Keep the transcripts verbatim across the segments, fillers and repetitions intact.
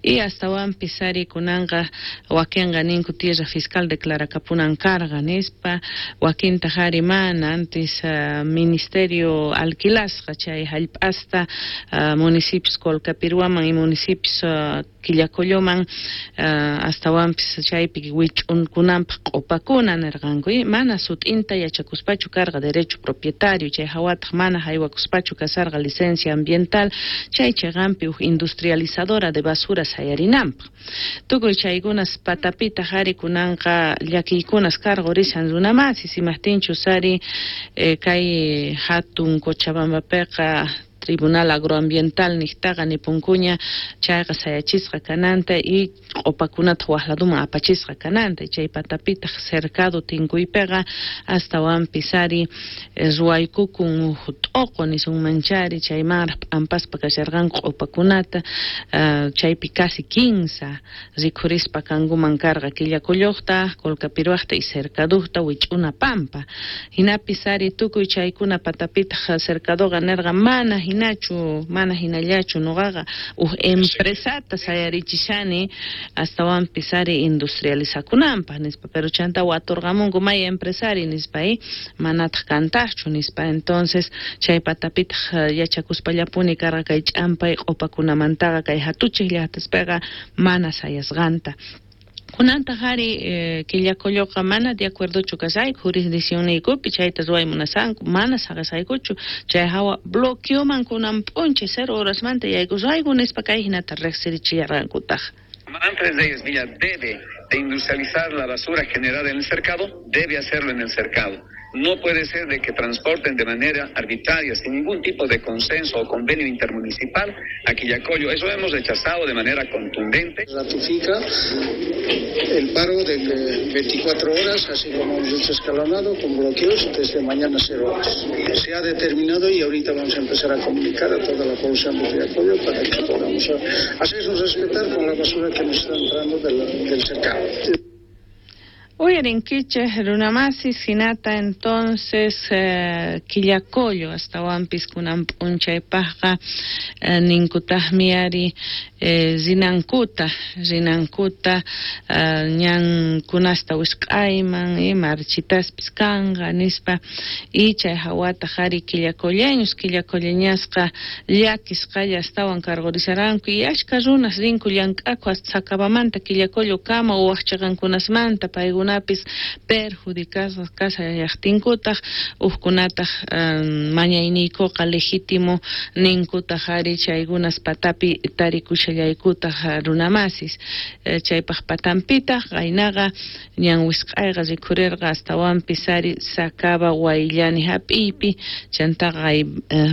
Y astawanpis ari kunanqa wakinqa ninku tierra fiscal declarakapunan karqa nispa, wakintaq ari mana antes uh, ministerio alquilasqa chay hallp'asta uh, municipios Colcapirhuaman y municipios uh, Quillacolloman uh, astawanpis chaypi wich'unkunanpaq q'upakuna nirqanku y mana sut'inta yachakuspachu karqa derecho propietario chay hawataq mana haywakuspachu kasarqa licencia ambiental chay chiqanpi huk industrializadora de basura sayarinanpaq tukuy chaykunas patapitaq ari kunanqa llakiykunas karqurishan runamasis imaqtinchus ari eh, kay hatun Cochabambapiqa Tribunal Agroambiental niqtaqa nipunkuña chayqa sayachisqa kananta y q'upakunata wak laduman apachisqa kananta chay patapitaq cercado tinkuypiqa astawanpis ari ruwaykukun huk t'uqu nisunmanchari chaymanraq p'ampaspa kasharqanku q'upakunata uh, chaypi casi kinsa rikhurispa kankuman karqa Quillacolloqta, Colcapirhuaqta y Cercaduqta wich'una pampa hinapis ari tukuy chaykuna patapitaq Cercadoqa nirqa mana hinachu mana hinallachu nuqaqa huk empresata sayarichishani astawanpis ari industrializakunanpaq nispa pero chanta waturqamunku may empresari nispa y manataq kantaqchu nispa entonces chay patapitaq yachakuspallapuni karqa kay ch'ampay q'upakunamantaqa kay hatuchiq llaqtaspiqa mana sayasqanta. Kunantaq ari eh, Quillacolloqa mana de acuerdochu kasayku jurisdiccionniykupi chayta ruway munasanku mana saqisaykuchu chay hawa bloqueoman kunan p'unchay cero horasmanta yaykusayku nispa kay hinata riqsirichillarqankutaq. Antes de ellos, Villa debe de industrializar la basura generada en el cercado, debe hacerlo en el cercado. No puede ser de que transporten de manera arbitraria, sin ningún tipo de consenso o convenio intermunicipal a Quillacollo. Eso hemos rechazado de manera contundente. Ratifica el paro de veinticuatro horas, así como hemos dicho escalonado, con bloqueos desde mañana cero horas. Se ha determinado y ahorita vamos a empezar a comunicar a toda la población de Quillacollo para que podamos hacernos respetar con la basura que nos está entrando del, del cercado. Uyarinkichej runamasis hinata entonces eh, Quillacollo astawanpis kunan p'unchaypaqqa eh, ninkutaqmi ari eh, rinankuta rinankuta eh, ñankunasta wisq'ayman eh, marchitaspis kanqa nispa y chay hawataq ari quillacolleños quillacolleñasqa llakisqalla astawan karqurisharanku y ashka runas rinku llank'aku hasta Sacabamanta Quillacollo kama o wak chiqankunasmanta paykuna perjudicasqas kasallaqtinkutaq hukkunataq um, mañayniykuqa legítimo ninkutaq ari chaykunas patapi tarikushallaykutaq runamasis eh, chaypaq patanpitaq qaynaqa ñan wisq'ayqa rikhurirqa astawanpis ari Sacaba Wayllani hap'iypi chantaqa eh,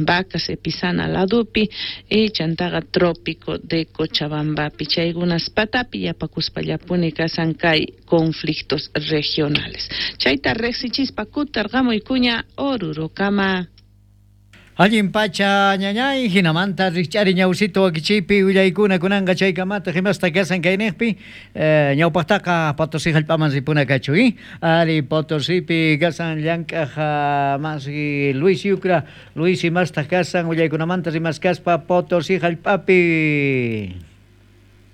Vacas Epizana ladupi y chantaqa Trópico de Cochabambapi chaykunas patapi yapakuspallapuni kasan kay conflictos regionales. Chayta riqsichispa kutarqamuykuña Orurokama. Allin pacha ñañay, hinamanta rikch'ari ñawsito wakichiypi willaykuna kunanqa chaykamata himasta kasan kayniqpi eh, ñawpaqtaqa Potosí hallp'aman ripuna kachu y ari Potosípi kasan llank'aq masi Luis Yucra, Luis imastaq kasan willaykunamanta rimaskaspa Potosí hallp'api.